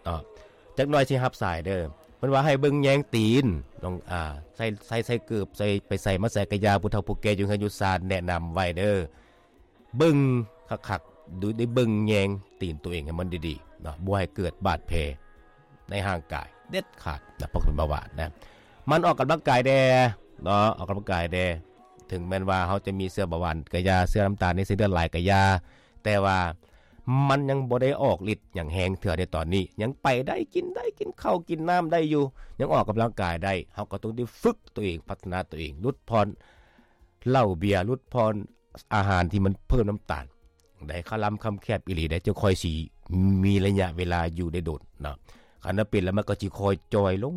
ເນາະ. ຈັກໜ່ອຍຊິຮັບສາຍເດີ. ເພິ່ນວ່າໃຫ້ເບິ່ງແຍງຕີນ ລອງ ອ່າ ໃສ່ ໃສ່ ໃສ່ເກີບ ໃສ່ ໄປໃສ່ມາໃສ່ກະຢ່າ ຜູ້ເຖົ້າຜູ້ແກ່ຢູ່ເຮືອນຢູ່ຊານແນະນຳໄວ້ເດີ. ເບິ່ງຄັກໆ ດູ ໄດ້ເບິ່ງແຍງຕີນຕົວເອງໃຫ້ມັນດີໆເນາະ, ບໍ່ໃຫ້ເກີດບາດແຜໃນຮ່າງກາຍເດັດຂາດນະ ເພາະເປັນເບົາຫວານນະ. ໝັ່ນອອກກຳລັງກາຍແດ່ເນາະ, ອອກກຳລັງກາຍແດ່. ເຖິງແມ່ນວ່າເຮົາຈະມີເຊື້ອເບົາຫວານກະຢ່າ, ເຊື້ອນ້ຳຕານໃນເສັ້ນເລືອດຫຼາຍກະຢ່າ, ແຕ່ວ່າມັນຍັງບໍ່ໄດ້ອອກລິດຫຍັງແຮງເທື່ອໃນຕອນນີ້, ຍັງໄປໄດ້, ກິນໄດ້, ກິນເຂົ້າກິນນ້ຳໄດ້ຢູ່, ຍັງອອກກຳລັງກາຍໄດ້. ເຮົາກໍຕ້ອງໄດ້ຝຶກຕົວເອງ, ພັດທະນາຕົວເອງ, ຫຼຸດຜ່ອນເຫຼົ້າເບຍ, ຫຼຸດຜ່ອນ ອາຫານທີ່ມັນເພີ່ມນ້ຳຕານໄດ້ ຄະລຳຄຳແຄບອີ່ຫຼີໄດ໋ ຈຶ່ງຄ່ອຍຊິມີໄລຍະເວລາຢູ່ໄດ້ດົນເນາະ. ຄັນວ່າເປັນແລ້ວ ມັນກໍຊິຄ່ອຍຈ່ອຍລົງ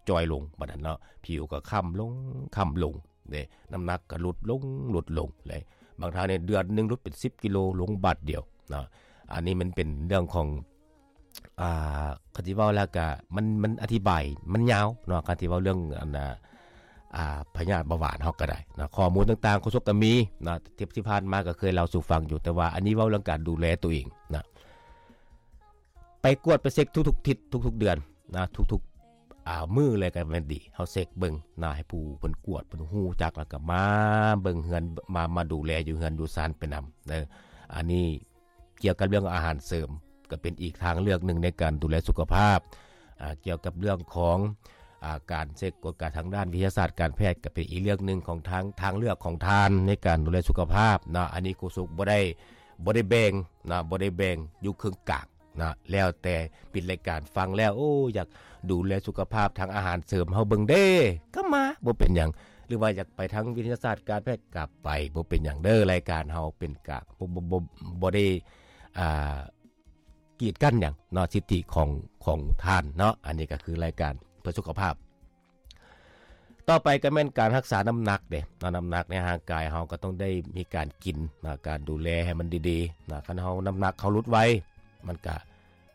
ຈ່ອຍລົງ ບາດນັ້ນເນາະ, ຜິວກໍຄ້ຳລົງ ຄ້ຳລົງເດ້, ນ້ຳໜັກກໍຫຼຸດລົງ ຫຼຸດລົງເດ້. ບາງທ່ານນີ້ເດືອນໜຶ່ງຫຼຸດເປັນສິບກິໂລ ລົງບາດດຽວເນາະ. ອັນນີ້ມັນເປັນເລື່ອງຂອງ ອ່າ ຄັນຊິເວົ້າແລ້ວກະ ມັນ ມັນອະທິບາຍມັນຍາວເນາະ, ຄັນຊິເວົ້າເລື່ອງອັນ ອ່າ ພະຍາດເບົາຫວານເຮົາກໍໄດ້ເນາະ. ຂໍ້ມູນຕ່າງໆ ໂຄສົກກໍມີເນາະ, ທີ່ ທີ່ຜ່ານມາກໍເຄີຍເລົ່າສູ່ຟັງຢູ່, ແຕ່ວ່າອັນນີ້ເວົ້າເລື່ອງການດູແລຕົວເອງນະ. ໄປກວດໄປເຊັກທຸກໆທິດ ທຸກໆເດືອນນະ, ທຸກໆ ອ່າ ມື້ເລີຍກໍແມ່ນດີ. ເຮົາເຊັກເບິ່ງນະ, ໃຫ້ຜູ້ເພິ່ນກວດ ເພິ່ນຮູ້ຈັກ ແລ້ວກໍມາເບິ່ງເຮືອນ ມາ ມາດູແລຢູ່ເຮືອນຢູ່ຊານໄປນຳເດີ. ອັນນີ້ ກ່ຽວກັບເລື່ອງອາຫານເສີມ ກໍເປັນອີກທາງເລືອກໜຶ່ງໃນການດູແລສຸຂະພາບ. ອ່າ ກ່ຽວກັບເລື່ອງຂອງ ອ່າ ການເຊັກກວດກາທາງດ້ານວິທະຍາສາດການແພດ ກໍເປັນອີກເລື່ອງໜຶ່ງຂອງທາງ ທາງເລືອກຂອງທ່ານໃນການດູແລສຸຂະພາບເນາະ. ອັນນີ້ໂຄສົກບໍ່ໄດ້ ບໍ່ໄດ້ແບ່ງເນາະ, ບໍ່ໄດ້ແບ່ງຢູ່ເຄິ່ງກາງເນາະ, ແລ້ວແຕ່ປິດລາຍການຟັງແລ້ວ ໂອ້ ຢາກດູແລສຸຂະພາບທາງອາຫານເສີມເຮົາເບິ່ງເດ້ ກໍມາ ບໍ່ເປັນຫຍັງ. ຫຼືວ່າຢາກໄປທາງວິທະຍາສາດການແພດກໍໄປ ບໍ່ເປັນຫຍັງເດີ. ລາຍການເຮົາເປັນກາງ ບໍ່ ບໍ່ ບໍ່ ບໍ່ໄດ້ ອ່າ ກີດກັ້ນຫຍັງເນາະ, ສິດທິຂອງ ຂອງທ່ານເນາະ. ອັນນີ້ກໍຄືລາຍການເພື່ອສຸຂະພາບ. ຕໍ່ໄປກໍແມ່ນການຮັກສານ້ຳໜັກເດ້ເນາະ, ນ້ຳໜັກໃນຮ່າງກາຍເຮົາກໍຕ້ອງໄດ້ມີການກິນນະ, ການດູແລໃຫ້ມັນດີໆນະ. ຄັນເຮົານ້ຳໜັກເຮົາຫຼຸດໄວ ມັນກະ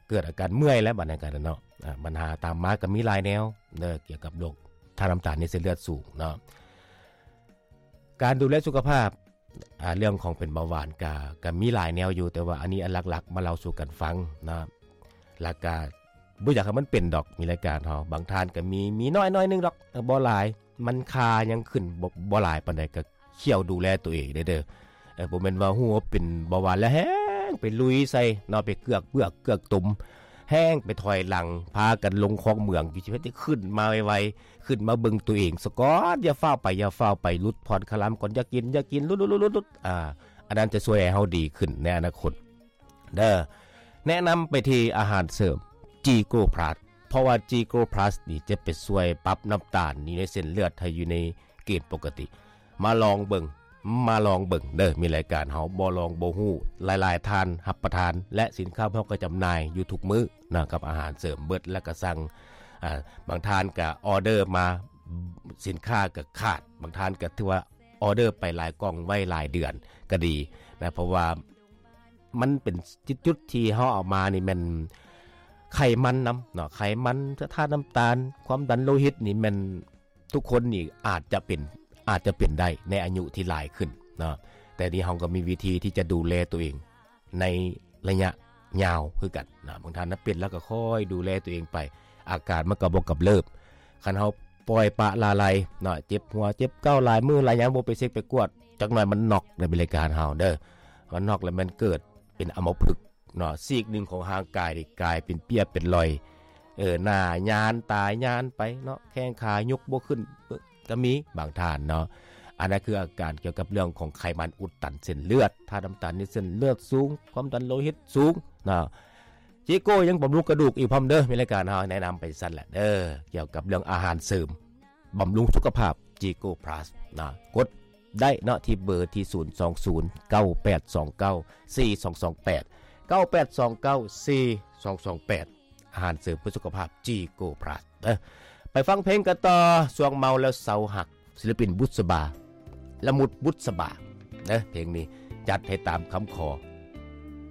ເກີດອາການເມື່ອຍແລ້ວ ບັດນັ້ນກະເນາະ. ອາ ບັນຫາຕາມມາກໍມີຫຼາຍແນວເດີ ກ່ຽວກັບໂລກທາດນ້ຳຕານໃນເສັ້ນເລືອດສູງເນາະ. ການດູແລສຸຂະພາບ ອ່າ ເລື່ອງຂອງເປັນເບົາຫວານກະ ກະມີຫຼາຍແນວຢູ່, ແຕ່ວ່າອັນນີ້ອັນຫຼັກໆມາເລົ່າສູ່ກັນຟັງເນາະ. ແລ້ວກະບໍ່ຢາກໃຫ້ມັນເປັນດອກ, ມີລາຍການເຮົາ ບາງທ່ານກະມີ ມີນ້ອຍໜ້ອຍໜຶ່ງດອກ, ເອີ ບໍ່ຫຼາຍ, ມັນຄ່າຍັງຂຶ້ນບໍ່ ບໍ່ຫຼາຍປານໃດ, ກະ ຂ້ຽວດູແລຕົວເອງເດີ. ເອີ ບໍ່ແມ່ນວ່າຮູ້ວ່າເປັນເບົາຫວານແລ້ວແຮ່ງໄປລຸຍໃສ່ເນາະ, ໄປເກືອກເບືອກເກືອກຕົມ, ແຮ່ງໄປຖອຍຫຼັງ, ພາກັນລົງຄອກເໝືອງຢູ່, ຊິເຮັດໃຫ້ຂຶ້ນມາໄວໆ, ຂຶ້ນມາເບິ່ງຕົວເອງສາກ່ອນ, ຢ່າຟ້າວໄປ, ຢ່າຟ້າວໄປ, ຫຼຸດຜ່ອນຄະລຳກ່ອນ, ຢ່າກິນ, ຢ່າກິນ, ຫຼຸດໆໆໆ. ອ່າ ອັນນັ້ນຈະຊ່ວຍໃຫ້ເຮົາດີຂຶ້ນໃນອະນາຄົດເດີ. ແນະນຳໄປທີ່ອາຫານເສີມ ຈີໂກພລັສ ເພາະວ່າຈີໂກພລັສນີ້ຈະໄປຊ່ວຍປັບນ້ຳຕານຢູ່ໃນເສັ້ນເລືອດໃຫ້ຢູ່ໃນເກນປົກກະຕິ. ມາລອງເບິ່ງ, ມາລອງເບິ່ງເດີ, ມີລາຍການເຮົາບໍ່ລອງບໍ່ຮູ້, ຫຼາຍໆທ່ານຮັບປະທານ ແລະ ສິນຄ້າພວກເຮົາກໍຈຳໜ່າຍຢູ່ທຸກມື້ນະ ກັບອາຫານເສີມເບິດ ແລ້ວກໍສັ່ງ, ອ່າ, ບາງທ່ານກໍອໍເດີມາ, ສິນຄ້າກໍຂາດ, ບາງທ່ານກໍຖືວ່າອໍເດີໄປຫຼາຍກ່ອງໄວ້ຫຼາຍເດືອນກໍດີນະ, ເພາະວ່າ ມັນເປັນຈຸດທີ່ເຮົາເອົາມານີ້ແມ່ນໄຂມັນນຳເນາະ, ໄຂມັນ, ທາດນ້ຳຕານ, ຄວາມດັນໂລຫິດນີ້ແມ່ນທຸກຄົນນີ້ອາດຈະເປັນ, ອາດຈະເປັນໄດ້ໃນອາຍຸທີ່ຫຼາຍຂຶ້ນເນາະ, ແຕ່ນີ້ເຮົາກໍມີວິທີທີ່ຈະດູແລຕົວເອງໃນໄລຍະຍາວຄືກັນນະ. ບາງທ່ານນະເປັນແລ້ວກໍຄ່ອຍດູແລຕົວເອງໄປ, ອາການມັນກໍບໍ່ກຳເລີບ. ຄັນເຮົາປ່ອຍປະລະໄລເນາະ, ເຈັບຫົວເຈັບເກົ້າຫຼາຍມື້ຫຼາຍຍາມບໍ່ໄປເຊັກໄປກວດ, ຈັກໜ່ອຍມັນນັອກໃນບໍລິການເຮົາເດີ, ມັນນັອກແລ້ວມັນເກີດເປັນອຳມະພຶກເນາະ, ຊີກໜຶ່ງຂອງຮ່າງກາຍນີ້ກາຍເປັນເປ້ຍເປັນລອຍ, ເອີ, ໜ້າຍານ, ຕາຍານໄປເນາະ, ແຂ້ງຂາຍົກບໍ່ຂຶ້ນກໍມີບາງທ່ານເນາະ. ອັນນັ້ນຄືອາການກ່ຽວກັບເລື່ອງຂອງໄຂມັນອຸດຕັນເສັ້ນເລືອດ, ທາດນ້ຳຕານໃນເສັ້ນເລືອດສູງ, ຄວາມດັນໂລຫິດສູງເນາະ. ຈີໂກຍັງບຳລຸງກະດູກອີກພ້ອມເດີ, ມີລາຍການເຮົາແນະນຳໄປຊັ້ນແຫຼະເດີ, ກ່ຽວກັບເລື່ອງອາຫານເສີມ ບຳລຸງສຸຂະພາບ ຈີໂກພລັສນະ, ກົດໄດ້ເນາະ ທີ່ເບີທີ່ ສູນສອງສູນ ເກົ້າແປດສອງເກົ້າ ສີ່ສອງສອງແປດ ເກົ້າແປດສອງເກົ້າ ສີ່ສອງສອງແປດ ອາຫານເສີມເພື່ອສຸຂະພາບ ຈີໂກພລັສເດີ. ໄປຟັງເພງກັນຕໍ່, ຊ່ວງເມົາແລ້ວເຊົາຮັກ, ສິລະປິນບຸດສະບາ ລະມຸດບຸດສະບາເດີ. ເພງນີ້ຈັດໃຫ້ຕາມຄຳຂໍ